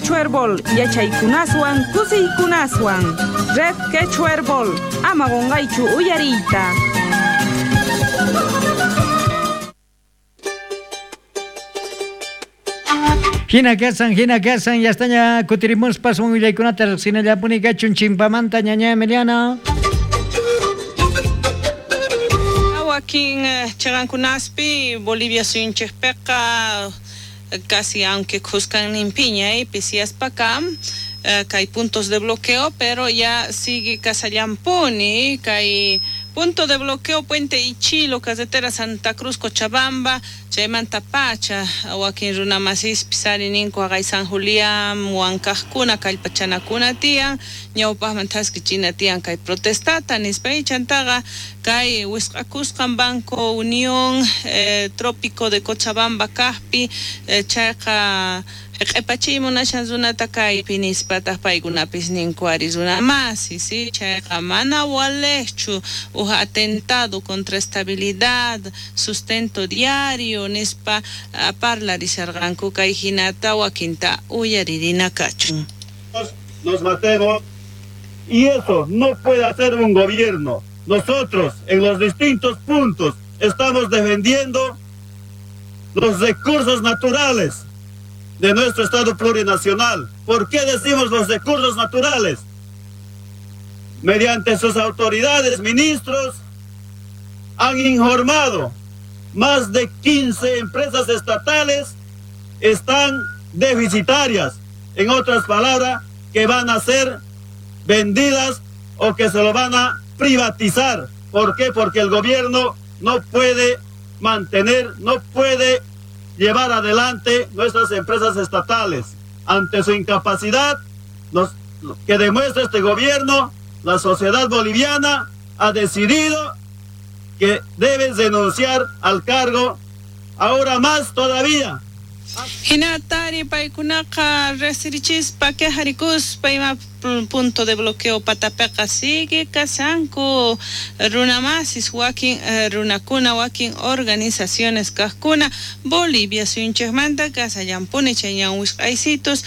Quechua Herbol yachaykunaswan kusiykunaswan. Red Quechua Herbol ama qonqaychu uyariyta. Hina kasan, hina kasan, yastaña kutirimuspas willaykunata riqsinallapuni kachun chimpamanta ñaña Emiliana. Wakin chiqankunaspi Bolivia suyunchikpiqa casi aunque khuskan nimpiña pisiyaspa kam kay puntos de bloqueo, pero ya sigue kasallampuni kay punto de bloqueo Puente Ichilo, carretera Santa Cruz Cochabamba, chaymanta pacha wakin runamasispis ari ninku haqay San Julián wankaqkuna kallpachanakuna tiyan ñawpaqman thaskichina tiyan kay protestata nispa chantaqa kay wisq'akusqan Banco Unión Trópico de Cochabamba kaqpi chayqa q'ipachiy munashan runata kaypi nispataq paykunapis ninku ari runamasi si chayqa mana waliqchu uj atentado contra estabilidad sustento diario nispa parlarisharqanku kay hinata wakinta uyaririna kachun. Nos matemos y eso no puede hacer un gobierno. Nosotros en los distintos puntos estamos defendiendo los recursos naturales de nuestro Estado plurinacional. ¿Por qué decimos los recursos naturales? Mediante sus autoridades, ministros, han informado más de 15 empresas estatales están deficitarias. En otras palabras, que van a ser vendidas o que se lo van a privatizar. ¿Por qué? Porque el gobierno no puede mantener, no puede llevar adelante nuestras empresas estatales. Ante su incapacidad que demuestra este gobierno, la sociedad boliviana ha decidido que debe renunciar al cargo, ahora más todavía. Hinatari paykunaqa riqsirichispa quejarikuspa ima punto de bloqueo patapiqa sigue kasanku runamasis wakin runakuna wakin organizaciones kaqkuna Bolivia suyunchikmanta kasallampuni chay ñan wisq'aysitus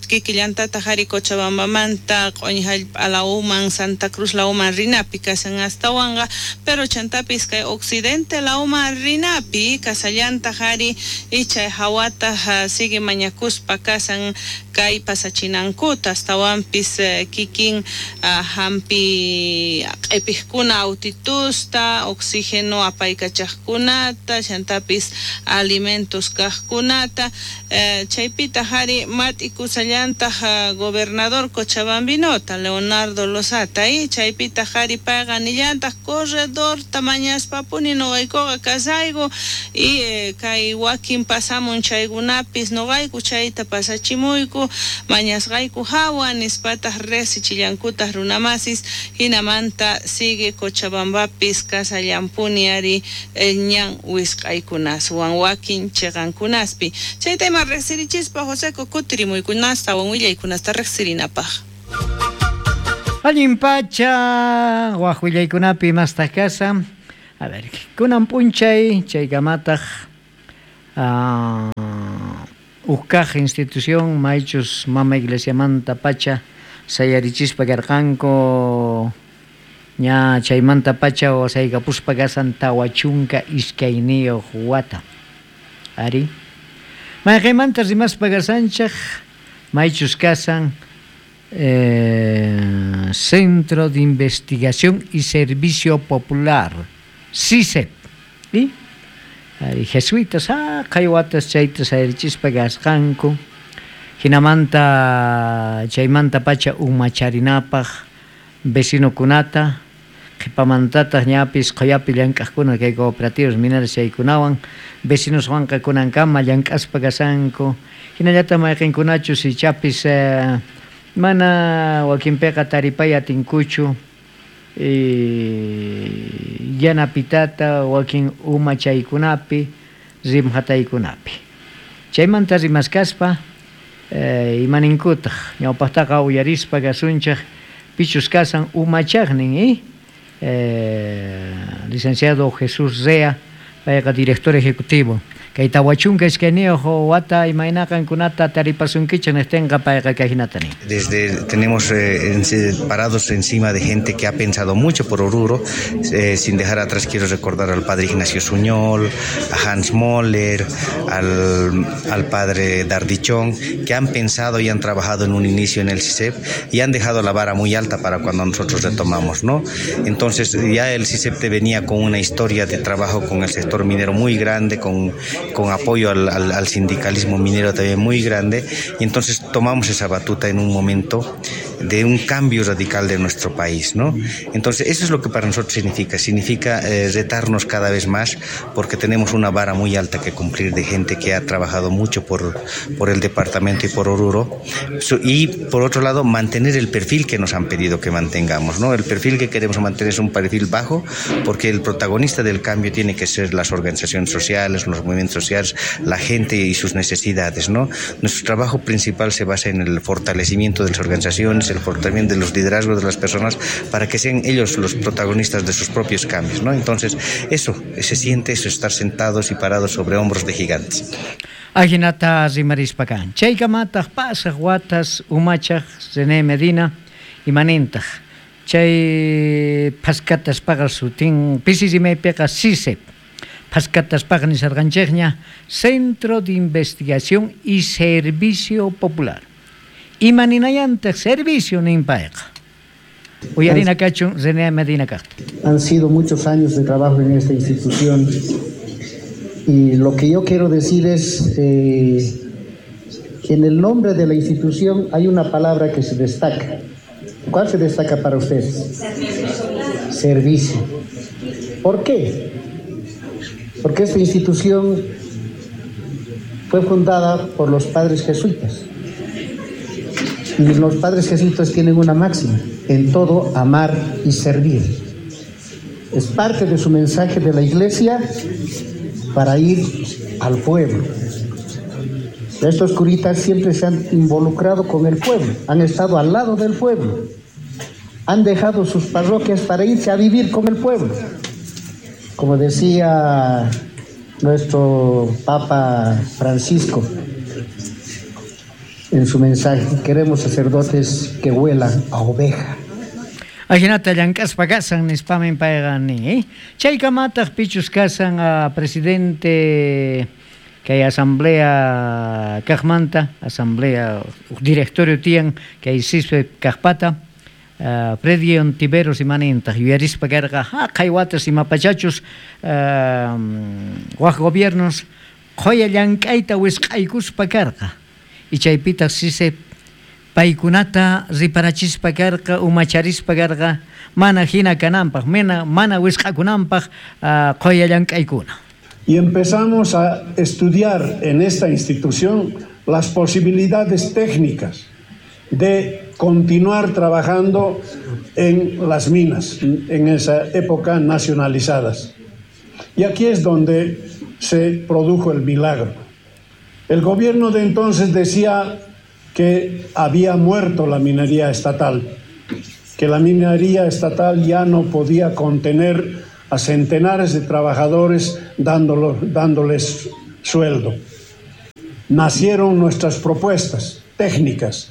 kikillantataq ari Cochabambamanta q'uñi hallp'a lawman Santa Cruz lawman rinapi kasan astawanqa pero chantapis kay occidente lawman rinapi kasallantaq ari chay hawataq sigue mañakuspa kasan kay pasachinankuta astawanpis kikin hampi q'ipijkuna autitusta oxígeno apaykachaqkunata chantapis alimentos kaqkunata chaypitaq ari mat'ikusallantaq gobernador Cochabambinota Leonardo Lozata chaypitaq ari payqa nillantaq corredorta mañaspapuni nuqaykuqa kasayku y kay wakin pasamun chaykunapis nuqayku chayta pasachimuyku mañasqayku hawa nispataq riqsichillankutaq runamasis hinamanta sigue Cochabambapis kasallampuni ari ñan wisq'aykunaswan wakin chiqankunaspi chayta ima riqsirichispa Joseco kutirimuykunastawan willaykunasta riqsirinapaq. Allin pacha waq willaykunapi mastaq kasa. A ver, kunan p'unchay chaykamataq ukkaq institución maychus mama iglesiamanta pacha sayarichispa karqanku ña chaymanta pacha wasaykapuspa kasan 42 wata ari mayqaymanta rimaspa kasanchaq maychus kasan Centro de Investigación y Servicio Popular CISEP ¿sí? Ari jesuitas kay watas chayta sayarichispa kasqanku hinamanta chaymanta pacha umacharinapaq vecinokunata qhipamantataq ñapis qhayapi llank'aqkuna kay cooperativas mineras chaykunawan vecinoswanqa kunankama llank'aspa kasanku hinallataq mayqinkunachus ichapis mana wakinpiqa taripay atinkuchu yanapitata wakin umachaykunapi rimhataykunapi chaymanta rimaskaspa imaninkutaq ñawpaqtaqa uyarispa kasunchaq pichus kasan umachaqnin licenciado Jesús Rea payqa director ejecutivo. Kay 42 wata imayna qankunata taripasunkichik niqtinqa payqa kayhinata nin. Desde tenemos parados encima de gente que ha pensado mucho por Oruro, sin dejar atrás quiero recordar al padre Ignacio Suñol, a Hans Moller, al padre Dardichón, que han pensado y han trabajado en un inicio en el CISEP y han dejado la vara muy alta para cuando nosotros retomamos, ¿no? Entonces ya el CISEP te venía con una historia de trabajo con el sector minero muy grande, con apoyo al sindicalismo minero también muy grande, y entonces tomamos esa batuta en un momento de un cambio radical de nuestro país, ¿no? Entonces eso es lo que para nosotros significa retarnos cada vez más, porque tenemos una vara muy alta que cumplir de gente que ha trabajado mucho por el departamento y por Oruro, y por otro lado mantener el perfil que nos han pedido que mantengamos, ¿no? El perfil que queremos mantener es un perfil bajo, porque el protagonista del cambio tiene que ser las organizaciones sociales, los movimientos sociales, la gente y sus necesidades, ¿no? Nuestro trabajo principal se basa en el fortalecimiento de las organizaciones, el fortalecimiento de los liderazgos de las personas, para que sean ellos los protagonistas de sus propios cambios, ¿no? Entonces, eso, se siente eso, estar sentados y parados sobre hombros de gigantes. Ajinata rimarispa kan. Chaykamataq pasaq watas umachaq René Medina imanintaq. Chay phaskataspaqa sutin pisi rimaypiqa CISEP. Phaskataspaqa nisarqanchikña Centro de Investigación y Servicio Popular. Imaninayantaq servicio nin payqa. Uyarina kachun René Medina kaqta. Han sido muchos años de trabajo en esta institución. Y lo que yo quiero decir es que en el nombre de la institución hay una palabra que se destaca. ¿Cuál se destaca para ustedes? Servicio. Servicio. ¿Por qué? Porque esta institución fue fundada por los padres jesuitas. Y los padres jesuitas tienen una máxima: en todo amar y servir. Es parte de su mensaje de la iglesia para ir al pueblo. Estos curitas siempre se han involucrado con el pueblo, han estado al lado del pueblo, han dejado sus parroquias para irse a vivir con el pueblo. Como decía nuestro Papa Francisco en su mensaje, queremos sacerdotes que huelan a oveja. Ajinata llank'aspa kasan nispamin payqa nin, Chaykamataq pichus kasan a presidente kay asamblea kaqmanta, asamblea directorio tiyan kay CISEP kaqpata, Freddy Ontiveros imanintaq yuyarispa karqa haqay watas imapachachus waq gobiernos qhuya llank'ayta wisq'aykuspa karqa. Y chaypitaq CISEP paykunata riparachispa karqa, umacharispa karqa, mana hina kananpaq, mana wisq'akunanpaq qhuya llank'aykuna. Y empezamos a estudiar en esta institución las posibilidades técnicas de continuar trabajando en las minas, en esa época nacionalizadas. Y aquí es donde se produjo el milagro. El gobierno de entonces decía que había muerto la minería estatal, que la minería estatal ya no podía contener a centenares de trabajadores dándoles sueldo. Nacieron nuestras propuestas técnicas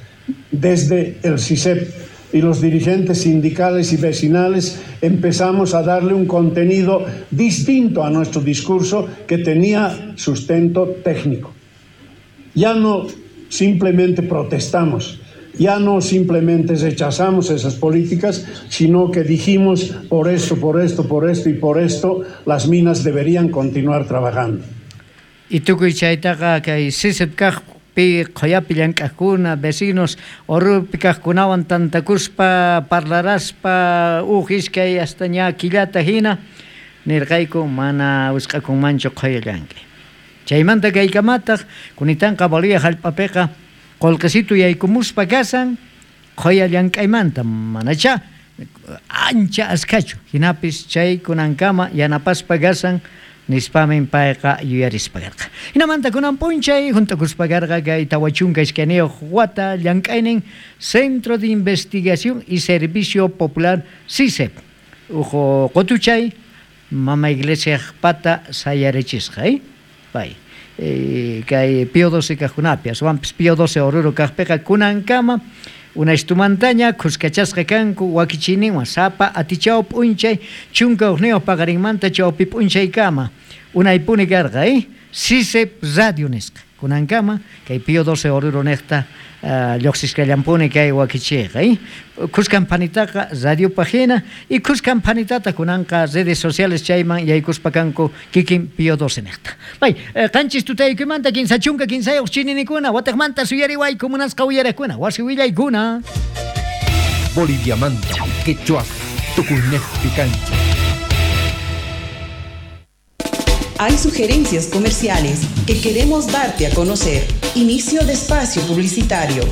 desde el CISEP y los dirigentes sindicales y vecinales empezamos a darle un contenido distinto a nuestro discurso que tenía sustento técnico. Ya no simplemente protestamos, ya no simplemente rechazamos esas políticas, sino que dijimos por esto, por esto, por esto y por esto, las minas deberían continuar trabajando. Y tukuy chaytaqa kay CISEP kaqpi qhuyapi llank'aqkuna, vecinos Oruropi kaqkunawan tantakuspa parlaraspa uj iskay hasta ña killata hina nirqayku mana wisq'akunmanchu qhuya llank'ay. Chaymanta kaykamataq kunitanqa Bolivia hallp'apiqa qullqisitu yaykumuspa kasan qhuya llank'aymanta manacha ancha askhachu hinapis chay kunankama yanapaspa kasan nispamin payqa yuyarispa karqa. Hinamanta kunan p'unchay juntakuspa karqa kay 42 wata llank'aynin Centro de Investigación y Servicio Popular CISEP. Uj qutuchay mama iglesiaq pata sayarichisqa, Pay. Kay Pío XII kajkunapi, aswanpis Pío XII Oruro kajpiqa kunankama unaystumantaña khuskachasqa kanku wakichiyninwan sapa atichaw p'unchay 11 paqarinmanta chawpi p'unchaykama unaypuni karqa, CICEP Radio nisqa. Kunankama kay Pío XII Oruro niqta lluqsisqallampuni kay wakichiyqa, khuskan phanitaqa radiopaq hina y khuskan phanitata kunanqa redes sociales chayman yaykuspa kanku kikin Pío XII niqta. Pay, 7 tutaykimanta 33 chininikuna, wataqmanta suyariwayku munasqa uyaraqkuna, wasi willaykuna. Boliviamanta, quechua, tukuynejpi kancha. Hay sugerencias comerciales que queremos darte a conocer. Inicio de espacio publicitario.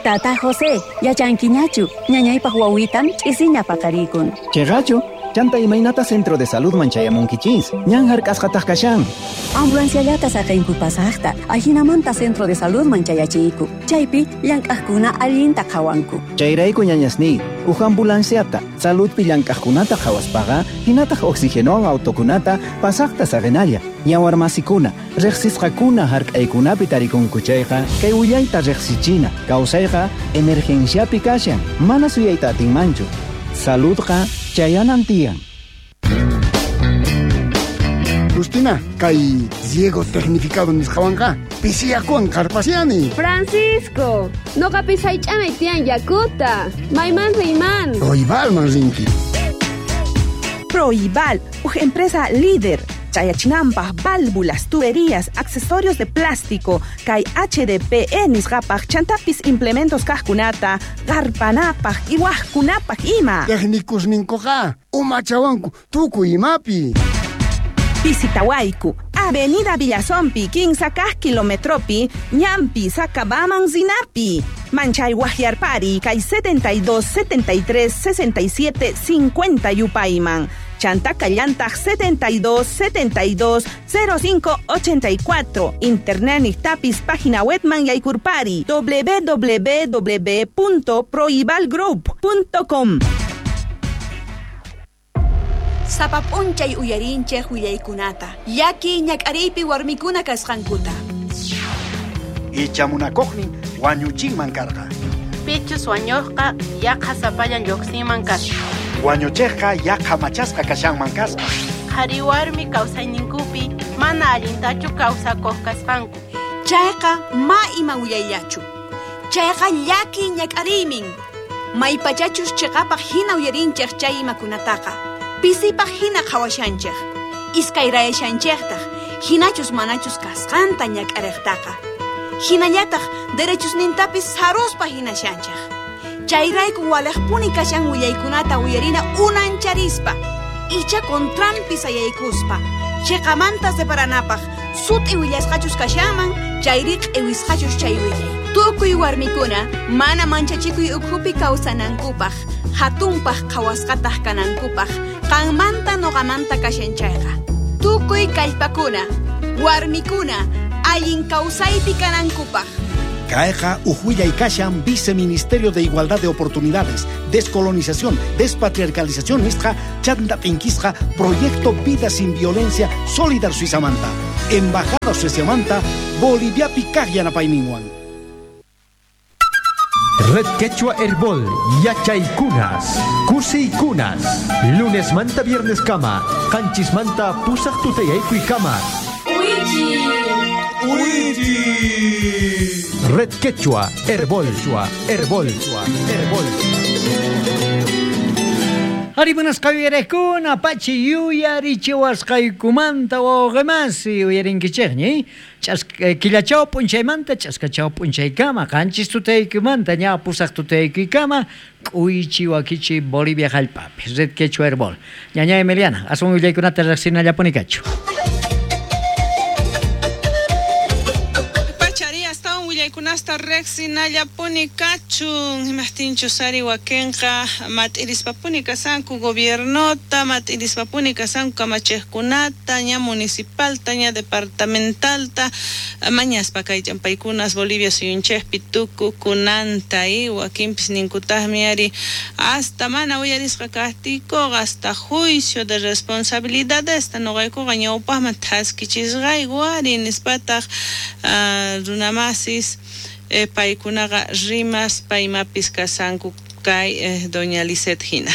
Tata José, yachankiñachu, ñañaypaq wawitan ch'isiña paqarikun. Cheqachu, chanta imaynata centro de salud man chayamunkichis, ñan hark'asqataq kashan. Ambulanciallata saqinku pasaqta, ajinamanta centro de salud man chayachiyku, chaypi llank'aqkuna allinta qhawanku. Chayrayku ñañasniy, uj ambulanciata, saludpi llank'aqkunata qhawaspaqa, hinataq oxigenowan autokunata pasaqta saqinalla. Yawarmasikuna, riqsisqakuna hark'aykunapi tarikunku chayqa, kay willayta riqsichina, kawsayqa emergenciapi kashan, mana suyayta atinmanchu. Saludqa chayanan tiyan. Justina, kay riego tecnificado nisqawanqa pisiyakuwan qarpasiani. Francisco, noqapis haych'anay tiyan yakuta. Mayman riyman. Proibalman rinki. Proibal, uj empresa líder. Chayachinampaj, válvulas, tuberías, accesorios de plástico, kay HDPE nisqapaj, chantapis implementos kajkunata, qarpanapaj, iwajkunapaj ima. Técnicos ninkuqa, umachawanku, tukuy imapi. Visitawayku, Avenida Villazompi, 15 kilometropi, Ñampi, Sacabaman, Zinapi. Manchay Guajiarpari, kay 72 73 67 50 Yupayman. Chantaka llantaq 72 72 05 84. Internet niqtapis página webman yaykurpari www.proibalgroup.com. Sapa p'unchay uyarinchej willaykunata, llaki ñak'ariypi warmikuna kasqankuta. Icha munakuqnin wañuchinman karqa. Pichus wañuqqa yaqa sapallan lluqsinman kasqa. Wañuchiqqa yaqa machasqa kashanman kasqa. Qhari warmi kawsayninkupi mana allintachu kawsakuq kasqanku. Chayqa ma ima willayllachu. Chayqa llaki ñak'ariymin. Maypachachus chiqapaq hina uyarinchej chay imakunataqa. Pisipaq hina qhawashanchej. Iskayrayashanchejtaq, hinachus manachus kasqanta ñak'ariqtaqa. Hinallataq derechusnintapis saruspa hinashanchej. Chayrayku walejpuni kashan willaykunata uyarina unancharispa, icha contranpi sayaykuspa, chiqamanta separanapaq, sut'i willasqachus kashanman, chayri q'iwisqachus chay willay. Tukuy warmikuna mana manchachikuy ukhupi kawsanankupaq, hatunpaq qhawasqataq kanankupaq, qanmanta noqamanta kashan chayqa. Tukuy kallpakuna, warmikuna, allin kawsaypi kanankupaq. Kayqa uj willay kashan Viceministerio de Igualdad de Oportunidades, Descolonización, Despatriarcalización nisqa chanta t'inkisqa Proyecto Vida Sin Violencia Solidar Suizamanta, Embajada Sueziamanta, Boliviapi kaq yanapayninwan. Red Quechua Herbol, Yachaykunas, Kusiykunas, lunes manta viernes kama, qanchis manta pusaq tutayaykuy kama. Uichi! Red Quechua Herbol, Herbol, Herbol. Harimunasqa uyariqkuna, pachi yuyarichiwasqaykumanta wawqimasi uyarinkichikñi. Killachaw p'unchaymanta ch'askachaw p'unchaykama, 7 tutaykumanta ña 8 tutaykuykama, k'uychi wakichi Bolivia hallp'api. Red Quechua Herbol. Ñaña Emiliana, aswan willaykunata riqsinallapuni kachu. willaykunasta riqsinallapuni kachun, imajtinchus ari wakinqa mat'irispapuni kasanku gobiernota, mat'irispapuni kasanku kamachiqkunata, ña municipalta, ña departamentalta, mañaspa kay ch'ampaykunas Bolivia suyunchikpi tukukunanta y wakinpis ninkutaqmi ari hasta mana uyarisqa kaqtiykuqa hasta juicio de responsabilidadesta nuqaykuqa ñawpaqman thaskichisqayku ari nispataq runamasis paykunaqa rimaspa imapis kasanku kay doña Lisette hina.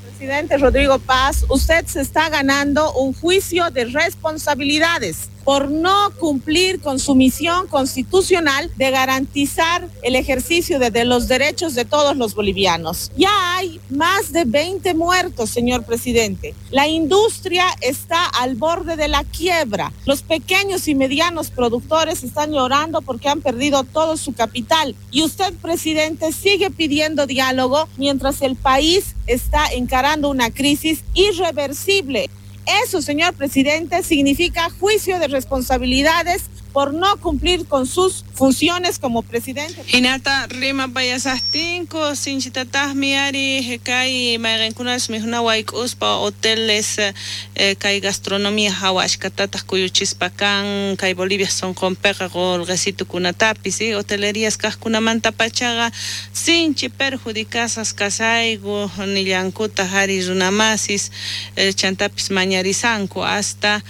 Presidente Rodrigo Paz, usted se está ganando un juicio de responsabilidades por no cumplir con su misión constitucional de garantizar el ejercicio de los derechos de todos los bolivianos. Ya hay más de 20 muertos, señor presidente. La industria está al borde de la quiebra. Los pequeños y medianos productores están llorando porque han perdido todo su capital. Y usted, presidente, sigue pidiendo diálogo mientras el país está encarando una crisis irreversible. Eso, señor presidente, significa juicio de responsabilidades por no cumplir con sus funciones como presidente. Hinata rima payasastinko sinchitataqmi ari kay mayqinkunas mikhuna wayk'uspa hoteles kay gastronomía hawa ashkatataq kuyuchispa kan kay Bolivia sunqunpiqa qulqisitukunatapis hotelerías kaqkunamanta pachaqa sinchi perjudicasas kasayku nillankutaq ari runamasis chantapis mañarisanku hasta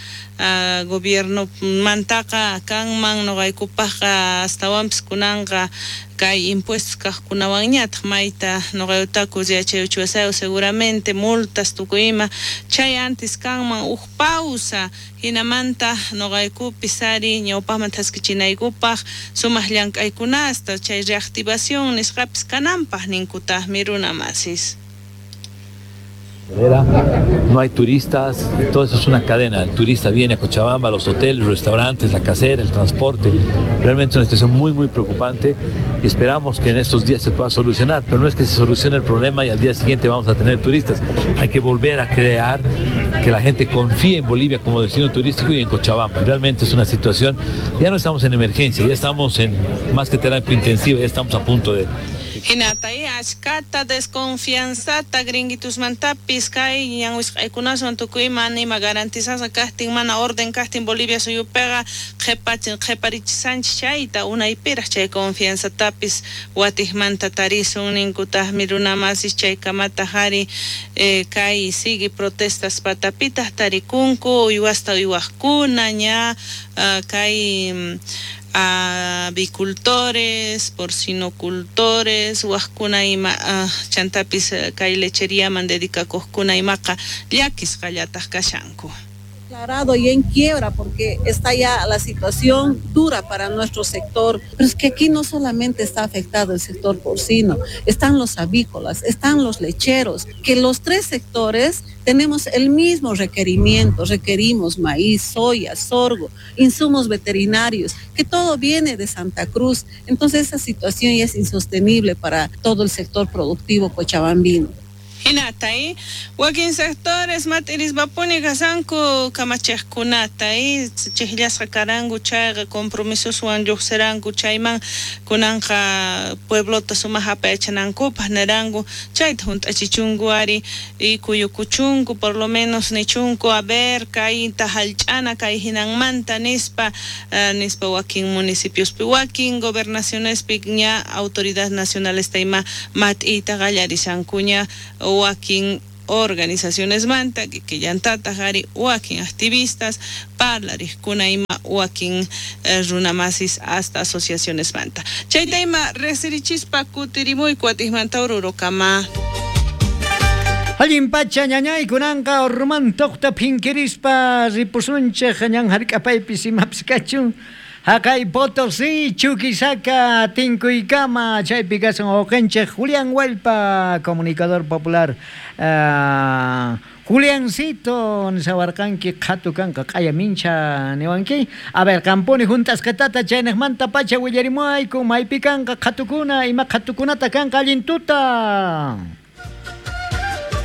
gobierno mantaqa kanman nuqaykupaqqa astawanpis kunanqa kay impuestos kaqkunawanñataq mayta nuqayutaku yachayuchiwasayu seguramente multas tukuy ima chay antes kanman uj pausa hinamanta nuqaykupis ari ñawpaqman thaskichinaykupaq sumaq llank'aykunasta chay reactivación nisqapis kananpaq ninkutaqmi runamasis. No hay turistas, todo eso es una cadena. El turista viene a Cochabamba, los hoteles, los restaurantes, la casera, el transporte. Realmente es una situación muy, muy preocupante y esperamos que en estos días se pueda solucionar, pero no es que se solucione el problema y al día siguiente vamos a tener turistas. Hay que volver a crear que la gente confíe en Bolivia como destino turístico y en Cochabamba. Realmente es una situación, ya no estamos en emergencia, ya estamos en más que terapia intensiva, ya estamos a punto de... Hinatay ashkata desconfianzata gringuitusmantapis kay ñanwisqaykunaswan tukuy ima nima garantizasqa kaqtin mana orden kaqtin Bolivia suyupiqa qhiparichisanchik chayta unaypiraq chay confianzatapis watiqmanta tarisun ninkutaqmi runamasis chaykamataq ari kay sigue protestas patapitaq tarikunku uywasta uywaqkuna ña kay avicultores, porcinocultores, wajkuna ima chantapis kay lecheriaman dedicakuqkuna imaqa llakisqallataq kashanku. Declarado y en quiebra porque está ya la situación dura para nuestro sector, pero es que aquí no solamente está afectado el sector porcino, están los avícolas, están los lecheros, que los tres sectores tenemos el mismo requerimiento, requerimos maíz, soya, sorgo, insumos veterinarios, que todo viene de Santa Cruz, entonces esa situación ya es insostenible para todo el sector productivo cochabambino. Hinatay wakin sectores mat'irispapuni kasanku kamachiqkunata chiqllasqa karanku chayqa compromisoswan lluqsiranku chayman kunanqa pueblota sumaq apayachanankupaq niranku chayta hunt'achichunku ari y kuyukuchunku por lo menos nichunku a ver kayta hallch'ana kay hinanmanta nispa nispa wakin municipiospi wakin gobernacionespi ña autoridad nacionalesta ima mat'iyta qallarishankuña wakin organizaciones manta que llantataq ari wakin activistas parlariqkuna ima wakin runamasis hasta asociaciones manta chayta ima riqsirichispa kutirimuyku atiqmanta Orurokama. Allin pacha ñañay kunanqa Ormantoqta phinkirispa ripusunchik ñan hark'apaypis imapis kachun Haqay Potosí, Chuquisaca, Tinkuykama, chaypi kasan wawqinchik Julián Hualpa, comunicador popular. Juliancito, nisawarqanki qhatu kanqa q'aya mincha niwanki. A ver, qampuni juntasqatata chayniqmanta pacha willarimuayku, maypi kanqa qhatukuna, ima qhatukunata kanqa allin tuta.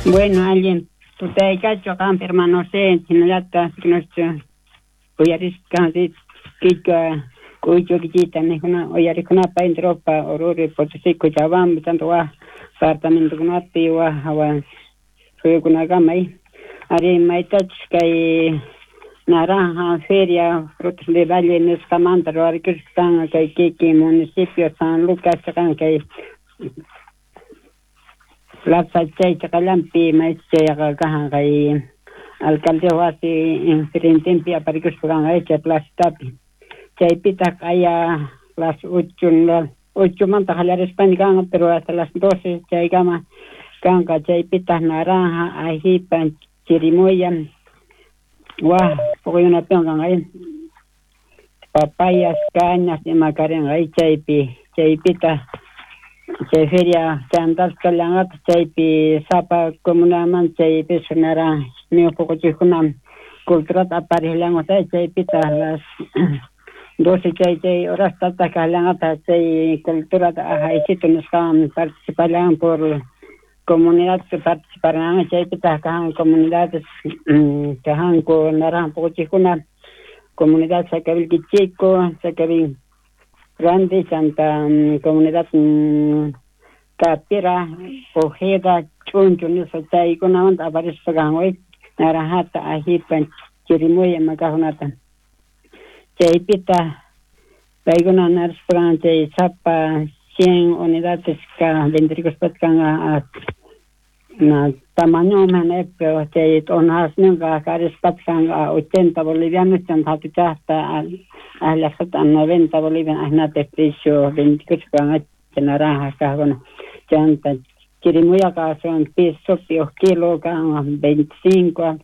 Bueno, allin tutaykachu qampi hermano C, hinallataq nuestro uyarisqanchik Quichua K'uychukichiyta nijuna uyarikunapaq intropa Oruro, Potosí, Cochabamba, tanto waj departamentokunapi waj hawa suyukunakama ari maytachus kay Naranja Feria Frutos de Valle nisqamanta ruwarikuspa kay kikin municipio San Lucas chaqan kay plaza chay chaqallanpi maychayqa kajan kay alcaldía wasi enfrentenpi aparikuspa kanqa chay placitapi chaypitaq q'aya las 8 manta qallarispaña kanqa pero hasta las 12 chaykama kanqa chaypitaq naranja, ajipa, chirimoya waj puquykunapiwan kanqa papayas, cañas ima karinqa chaypi chaypitaq chay feria chantapis kallanqataq chaypi sapa comunamanta chaypis naranja puquchiqkuna culturata aparijllanqataq chaypitaq las 12 chay chay horastataq kallanqataq chay culturata ajaysito nisqawan participallan por comunidad participarán chaypitaq kajan comunidades kajanku naranja puquchiqkuna comunidad Sacavilqui Chico, Sacavilqui Grande, chanta comunidad Capira, Ojeda, Chuncho nisqa chaykunamanta aparispa kan naranjata, ajipa, chirimoya ima kaqkunata chaypitaq paykuna narispa kan chay sapa 100 unidades ka vendirikuspataj kanqa na tamañoman pero chay t'unasninqa karispataq kanqa 80 bolivianos chanta hatuchaqta llaqtata 90 bolivianos ajinapi precio vendikuspa kanqa chay naranja kaqkuna chanta chirimoyaqa son pesopi uj kilo kanqa 25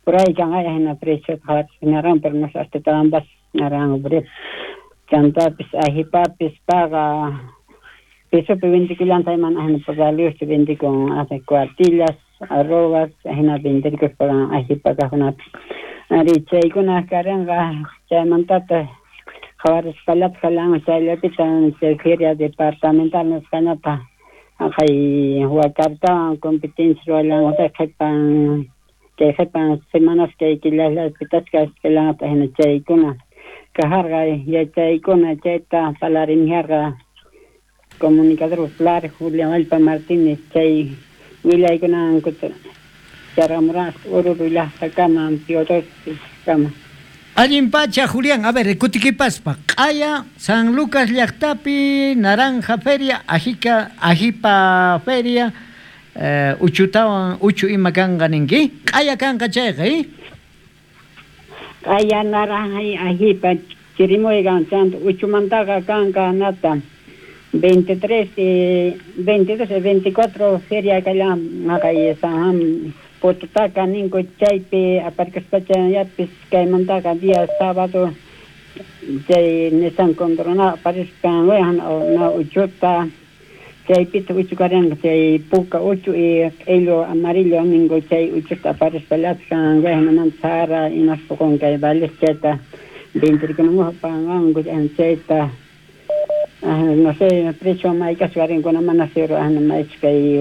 por ahí kanqa ajina precio naranja pero no sé hasta tawanpas naranja por chantapis ajipapis paqa pesopi vendikullantaq mana ajina valiosta vendikun cuartillas, arrobas ajinapi vendirikuspa ajipa kaqkunapi ari chaykuna karinqa chaymantataq qhawarispallataj kallanqa chayllapitaq chay feria departamental nisqañataq jaqay wakartawan competencia ruwallanqataq qhipan chay qhipan semanas kay killallapitasqa kallanqataq hina chaykuna kajarqa yachaykuna chayta parlarinjarqa comunicador popular Julián Allpa Martínez chay willaykunan charamurasqa Oruro llaqtakama kama. Allin pacha, Julián. A ver, kutikipaspa. Q'aya, San Lucas llaqtapi, Naranja Feria, Ajika, Ajipa Feria, uchutawan, uchu ima kanqa ninki. Q'aya kanqa chayqa, eh? Q'aya naranja ajipa chirimoya kan chanta uchumantaqa kanqa nata 23 y 22 y 24 feria kallan haqay San Juan Pototaka ninku chaypi aparkuspacha yapis kaymantaqa día sábado chay Nissan Coronado aparispan na uchuta chaypita uchu karinqa chay puka uchu y q'illu amarillo ninku chay uchuta aparispa llapan wayjinamanta sara imas puqun kay vales chayta vendirikunamuqa panqanku chayta no sé precio maykasqa karinkuna mana seguro maychus kay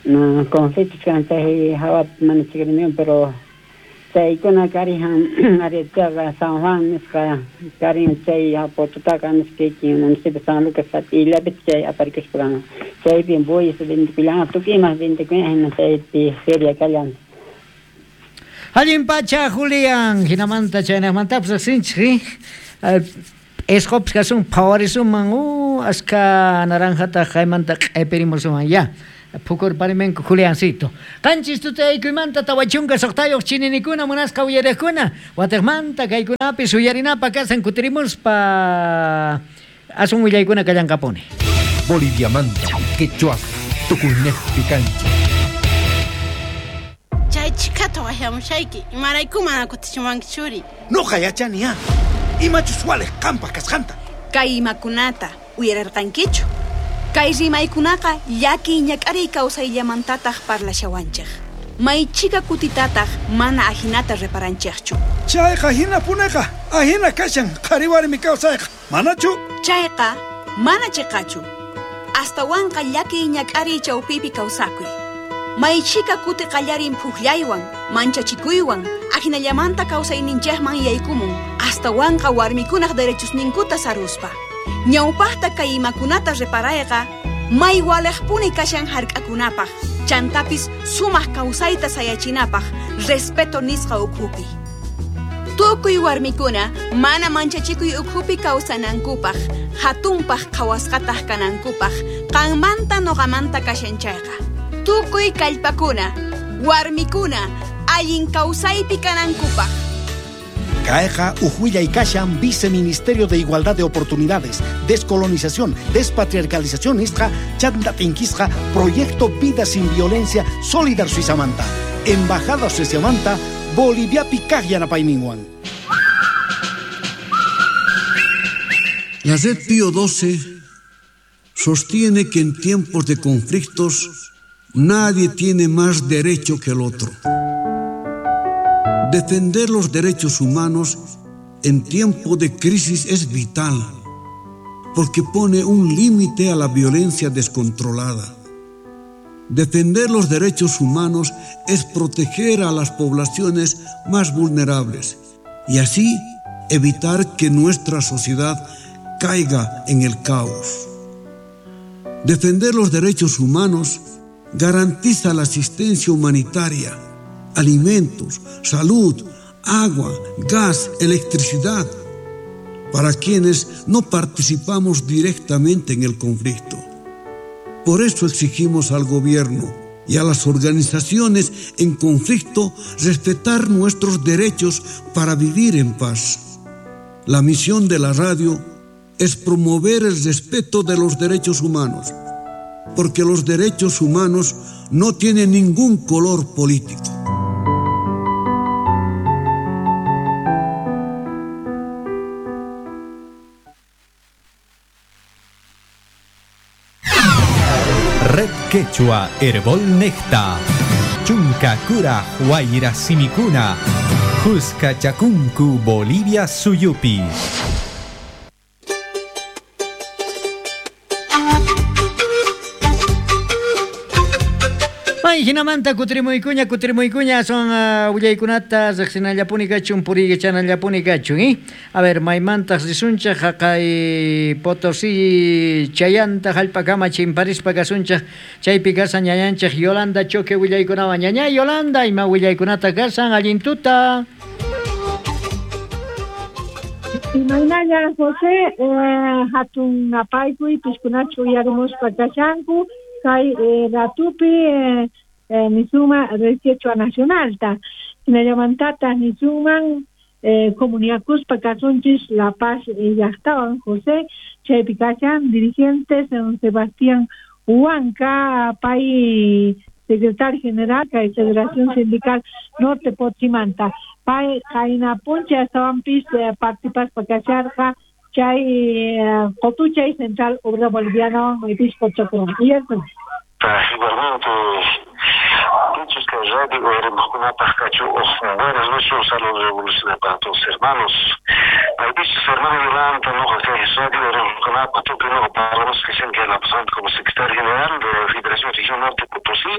na conflictos kan chay hawapi mana chikriniwan pero chaykuna karijan ari chaqa San Juan nisqa karin chay Pototaka nisqa kikin municipio San Lucas illapi chay aparikuspa kan chaypi bueyes vendikullanqa tukuy imas vendikuyan hina chaypi feria kallan. Allin pacha, Julián. Hinamanta chaynaqmantapas riqsinchik, Esqupis kasun phawarisuman aska naranjata qaymanta q'ipirimusuman ya. Phukurparimenku Juliancito. Qanchis tutaykuymanta 46 chininikuna munasqa uyariqkuna. Watiqmanta kaykunapis uyarinapaq kasan kutirimuspa asun willaykuna kallanqapuni. Boliviamanta, quechua, tukuynejpi kanchik. Chay chikata waqyamushayki, imarayku mana kutichimuwanki churi? Noqa yachani ya. Imachus waliq qampaq kasqanta. Kay imakunata uyarirqankichu? Kay rimaykunaqa llakiy ñak'ariy kawsayllamantataq parlashawanchik. Maychika kutitataq mana ajinata reparanchikchu. Chayqa hinapuneqa, ahina kashan qhari warmi kawsayqa. Manachu? Chayqa mana chiqachu. Astawanqa llakiy ñak'ariy chawpipi kawsakuy. Maychika kuti qallarin phuqllaywan, manchachikuywan, ahinallamanta kawsayninchikman yaykumun, astawanqa warmikunaq derechosninkuta saruspa. Ñawpaqta kay imakunata reparayqa, may waliqpuni kashan hark'akunapaq, chantapis sumaq kawsayta sayachinapaq, respeto nisqa ukhupi. Tukuy warmikuna mana manchachikuy ukhupi kawsanankupaq, hatunpaq qhawasqataq kanankupaq, qanmanta nuqamanta kashan chayqa. Tukuy kallpakuna, warmikuna, allin kawsaypi kanankupaq. Kayqa uj kashan Viceministerio de Igualdad de Oportunidades, Descolonización, Despatriarcalización nisqa chanta t'inkisqa Proyecto Vida sin Violencia Solidar Suizamanta, Embajada Suizamanta, Boliviapi kaq yanapayninwan. La Red Pío XII sostiene que en tiempos de conflictos nadie tiene más derecho que el otro. Defender los derechos humanos en tiempo de crisis es vital, porque pone un límite a la violencia descontrolada. Defender los derechos humanos es proteger a las poblaciones más vulnerables y así evitar que nuestra sociedad caiga en el caos. Defender los derechos humanos garantiza la asistencia humanitaria, alimentos, salud, agua, gas, electricidad, para quienes no participamos directamente en el conflicto. Por eso exigimos al gobierno y a las organizaciones en conflicto respetar nuestros derechos para vivir en paz. La misión de la radio es promover el respeto de los derechos humanos, porque los derechos humanos no tienen ningún color político. Red Quechua Herbol Necta Chunka Kura Huayra Simikuna Juska Chakunku Bolivia Suyupi. May hinamanta kutirimuykuña kutirimuykuña son willaykunata riqsinallapuni kachun puriykachanallapuni kachun, ¿eh? A ver, maymantaq risunchaq haqay Potosí chayanta hallp'akama chimparispa kasunchaq chaypi kasan ñañanchaq Yolanda Choque willaykunawan. Ñaña Yolanda, ima willaykunata kasan allin tuta. Imaynalla José, hatun apaykuy piskunachu uyarimuspa kashanku kay ratupi nisuma Red Quechua Nacionalta hinallamantata nisuman comunicakuspa kasunchis La Paz llaqtawan José chaypi kashan dirigentes Sebastián Huanca pay secretario general kay Federación Sindical Norte Potsimanta pay qaynapuncha astawanpis partipaspa kasharqa chay Qotuchay Central Obrera Boliviana maypis qochakuran. Igualmente, dichos que radio buenas noches, un saludo revolucionario para todos hermanos. Dichos hermano Yolanda, no que radio no para los que se la pasando como secretario general de la Federación Región Norte Potosí.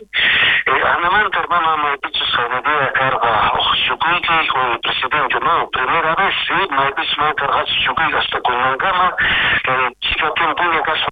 Anamanta hermano, dichos día carga Chucuique con el presidente, no, primera vez, sí, me dicho carga Chucuique hasta con Mangama, chica tiempo en caso.